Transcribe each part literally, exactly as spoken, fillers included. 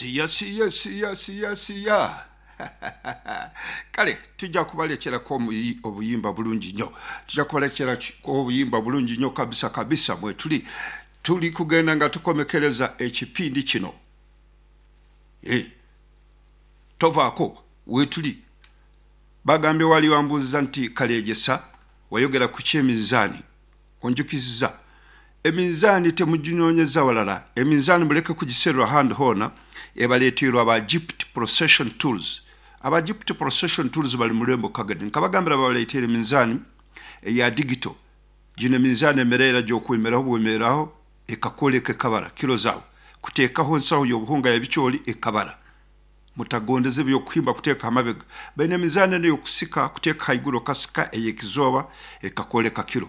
Siya siya siya siya siya. Kale tujja kubalekerako omuyi- obuyimba bulungi nnyo, tujja kubalekerako obuyimba bulungi nnyo kabisa kabisa. Bwe tuli tuli kugenda nga tukomekereza ekipindi kino. Eh, tovaako, weetuli. Bagambye wali wambuuziza nti Kalyegyesa wayogera ku kyeminzaani, onjukiziza eminzaani, temuginoonyeza walala. Eminzaani muleke kugiserwa handi hoona, ebaleeterwa aba Egypt Procession Tools. Aba Egypt Procession Tools bali mulembo Kagadi. Nkabagambira, babaleetera eminzaani eya digital. Gino eminzaani emereera gyokwemeraho, bwemeraho ekakwoleka, ekabara kilo zaawe. Kuteekaho ensaho y'obuhunga yabikyoli, ekabara. Mutagondeze ebyokuhimba kuteeka amabega. Baine emizaani eno eyokusika, kuteeka haiguru okasika, ey'ekizooba, ekakwoleka kilo.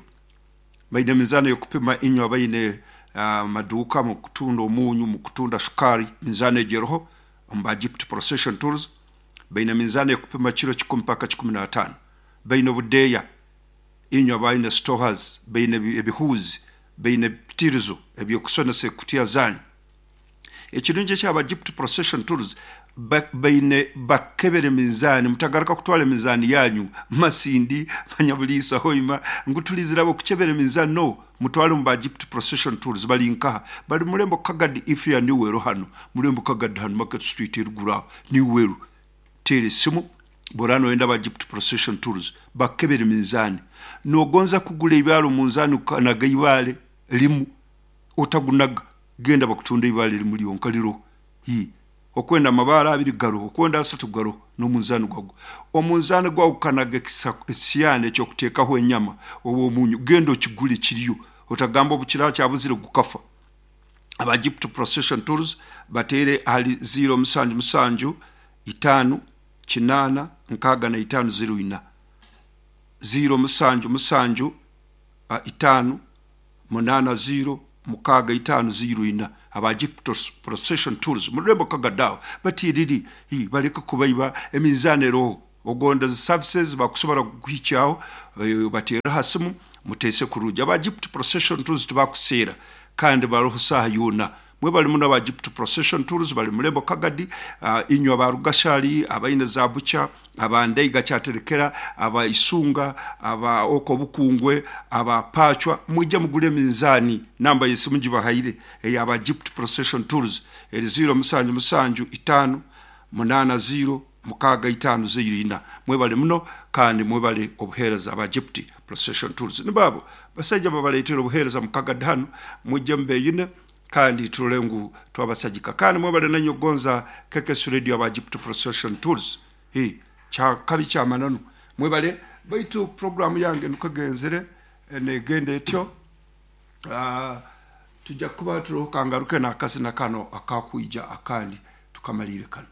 Baine emizaani ey'okupima. Inywe abaine amaduuka mu kutunda omunyu, mu kutunda shukaari, minzaani egyo eroho omu ba Egypt Procession Tools. Baine emizaani ey'okupima kiro kikumi paka kikumi n'ataano. Baine obudeeya. Inywe abaine stores, baine ebi- ebihuuzi, baine ebipitirizo ebyokusonesa ekutiya zanyu. Ekirungi ekyaba Egypt Procession Tools, ba- baine bakebera eminzaani. Mutagaruka kutwara eminzaani yanyu Masindi, Manyabuliisa, Hoima ngu tulizirabo okukyebera eminzaani. No, mutwale mu ba Egypt Procession Tools. Bali nkaha? Bali mulembo Kagadi. If ya niwero hano mulembo Kagadi, hano Market Street eruguru aho niweru. Teera esimu bwora noyenda ba Egypt Procession Tools bakebera eminzaani. Nogonza kugula ebibaale, omunzaani ukanaga ibaale limu, otagunaga. Genda bakutunda ibaale limu lyonka liro. Hi okwenda amabaale abiri garoho, okwenda asatu garoho, n'omunzaani gwagwo. Omunzaani gwawe gukanaga ekisiyani ekyokuteekaho enyama oba omunyu, genda okigule, kiriyo. Otagamba obukira kyabuzire gukafa. Aba Egypt Procession Tools bateere ahali ziro musanju musanju itaano kinaana nkaaga na itaano ziro ina, ziro musanju musanju uh, itaano munaana ziro mukaaga itaano ziro ina. Aba Egypt Procession Tools murembo Kagadaawo batiriri hi, baleke kubaiba. Eminzaani eroho. Ogonda zi services bakusobora kukuhikyaho, eh, bateere ha simu, muteese kurungi. Aba Egypt Procession Tools tibakuseera kandi baroho saaha yoona. Mwe bali muno aba Egypt Procession Tools bali mulembo Kagadi. uh, inywe aba Rugashali, abaine za bucha, abandaiga kyaterekera, aba Isunga, aba oko Bukungwe, aba Pachwa, mwijja mugule eminzaani. Namba yesimu gibahaire eyaba Egypt Procession Tools eri ziro musanju musanju itaano munaana ziro mukaaga itaano ziro ina. Mwebale muno kandi mwebale obuheereza. Aba Egypt Procession Tools nibabo basajja babaleetera obuheereza mukagadi hano. Mwijje mubeyine kandi turole ngu twabasagika. Kandi mwebale nanyo gonza K K S Radio. Aba Egypt Procession Tools, hi kyakabi kyamananu, mwebale. Baitu programu yange nukagenzere negenda etyo. uh, tujja kuba turoho. Kangaruke nakasina kano akakwija akandi tukamalire kano.